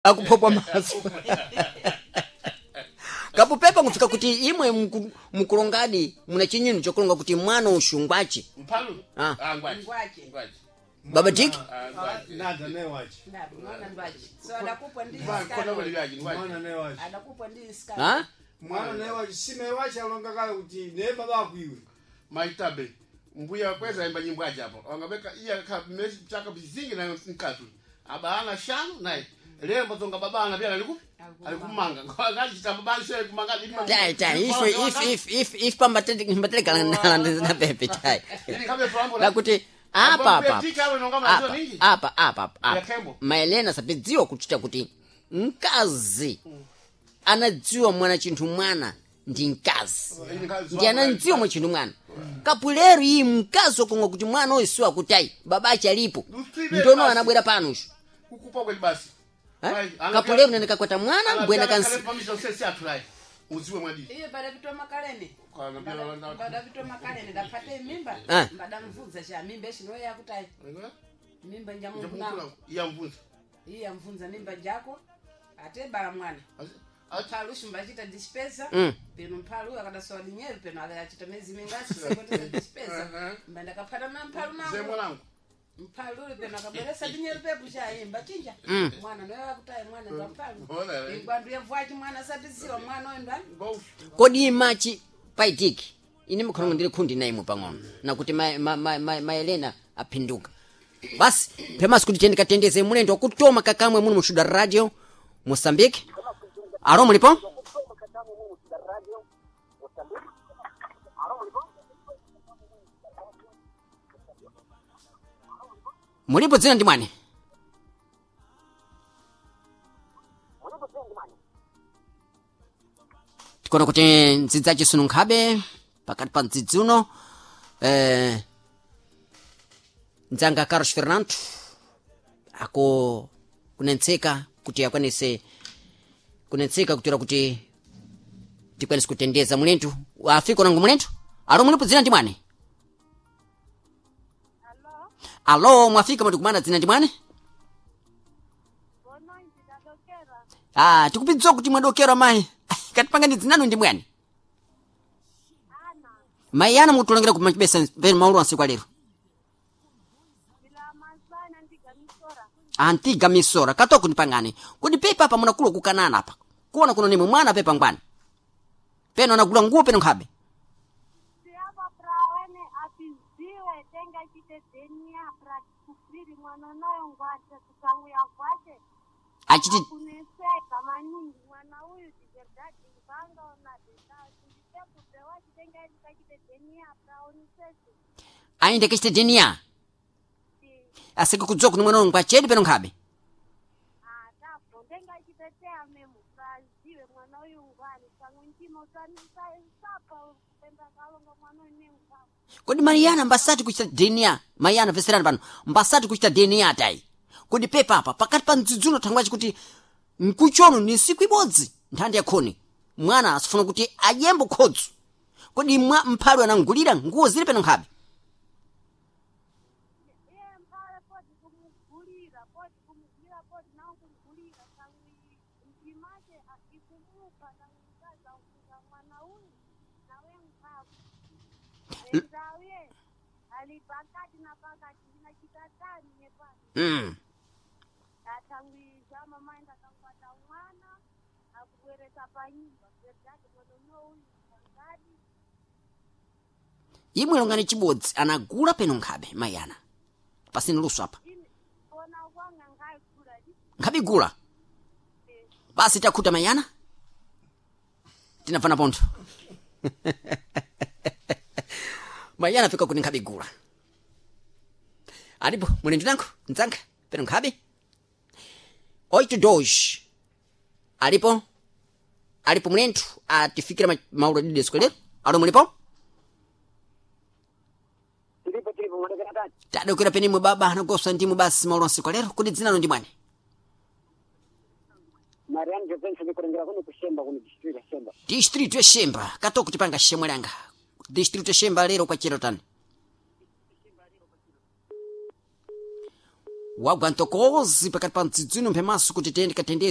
Akupopwa maso kapupepa nkufika kuti imwe mukulongadi muna chinyinu chokulonga kuti mwana ushungwachi. Mpalu. Ah. Ah, ngwachi. Ngwachi. Ngwachi. Baba Tiki. Ah, ngwachi. Nada newachi. Ndadu, mwana ndwachi. So adakupwa ndi Kona iskari. kweli vyaji ngwachi. Mwana newachi. Adakupwa ndi iskari. Ha? Mwana newachi sime wachi alonga kale kuti ne baba akwiwe. Maitabe. Mbuya kweza imba nyimbo aje hapo. Wangabeka iya ka meshi chaka bizingi na nkatu. Abana shano naye. Lembo zonga babana pia alikupi? Alikumanga. Ngaji cha babana shwe kumanga. Tai tai if pambatele na pepe tai. Ili kabe frambo. Lakuti apa apa. Tika we nonga Apa mazo ningi. apa apa apa. Yakembo. Maelena sapidziwa kuchita kuti mkazi anadziwa mwana chinthu mwana ndi mkazi. Ndi anandziwa mwa chinthu mwana. Kapulero iyi mkazi wakonga kuti mwana uyu siwa kuti ayi babache alipo. Ndono anabwera pano ushu. Kukupa kweli basi. Eh? Kapulero nene kakwata mwana mbwena kansi. Pamisha usese atulai. Uziwe mwadi. Iye badapitwa makaleni. Kana pia landa. Badapitwa makaleni ndapate mimba. Ah. Mbadamvunza cha mimba ishino yakutai. Mimba njamungu nangu. Iya mvunza. Iye amvunza mimba njako. Ate bala mwana. Mpalu shumba achita dispesa. Peno mpalu akadasowa dinyeru peno akachita mezi mingasi sekoteza dispesa. Mba ndakapata na mpalu Ze nangu. mwanangu. Mpalu uli peno akabweresa dinyeru pepu chaimba chinja. Mwana noyo akutayi mwana ndo mpalu. Ona, eh. Ingwandu yevwachi mwana sapisiwa mwana oyo ndani. Ngoshu. Kodi imachi paitiki ine mukhalongo ndili khundi na imwe pang'ono nakuti maelena aphinduka basi phemasi kuti tiyeni katendeze mulendo wakutoma kakamwe muno mushuda radio Moçambique. Alo, mulipo? Mulipo, dzina ndi mwani? Tikuona kuti ndzidzi achisununkhabe pakati pa mdzidzi uno, mdzanga Carlos Fernando ako kunentseka kuti akwanise kunentseka kutera kuti tikwanise kutendeza mulentu afika unango mulentu. Alo, mulipo, dzina ndi mwani? Alo, mwafika mwatikumana, dzina ndi mwani? Ah, tikupidziwa kuti mwadokera mayi. Katipangani dzinanu ndi mwani? Mayi ana mutulongera kumachibesa penu maulu ansiku alero. Antiga misora katoko ndipangane kodi pepa apa munakula kukanana apa kuona kuno nimwe mwana pepa ngwani peno anagula nguo peno nkhabe. Siapa prawene apiziwe tenga chitedzenia pra kufiri mwana nayo ngwache kusanguya kwache Achiti kuneseka maningi mwana uyu diverdadi nganga ona nditekupewa chitenga chitedzenia praonisese. Ainde kachite DNA asike kudziwa kuti mwana uyu ngwachedi peno nkhabe. Atapo ndenga chitetea memo praziwe mwana uyu ngwani sangu ndimo sapa kupenda kalonga mwana uyu nengwani. Kodi Mariana mbasati kuchita DNA? Mariana, veserani pano, mbasati kuchita DNA tayi. Kodi pepa apa pakati pa mdzidzuno thangwachi kuti mkuchono ni siku ibodzi nthanda yakhoni mwana asifuna kuti adyembo khodzu. Kodi mwa mphalu anangulira nguo zili peno nkhabe? Iye mphale poti kumugulira poti kumugulira poti nawo kumugulira sangwi mjimache ikumupa sangwi mkaza kuza mwana uyu nawe mphavu enzawe ali pakati na pakati na chitatani nepano. Athangwi zama maenda kakwata mwana akubweresa panyumba verdadi mwana uno uyu angadi. Imwe longani chibodzi anagula peno nkhabe mayana pasina luso apa? Ine ona kwanga ngayigula. Nkhabe igula basi takhuta mayana tinafana pontho mayana afika kuti nkhabe igula alipo muli ndinango mdzanga peno nkhabe 8 alipo alipo mulenthu atifikira maulo dide sikolero. Alo, mulipo? Tilipo tilipo, mwadokera tani? Tadokera penimwe baba anagosa ndimwe basi maulo ansiku lero kuti dzinano ndi mwani? Mariano Jovenson ndikulengera kuno kushemba kuno district ya Shemba. District ya Shemba katoko tipanga shemwe langa district ya Shemba lero kwachero tani. Wagwa ntokozi pakati pa mdzidzino mphemaso kuti tiyende katendezi.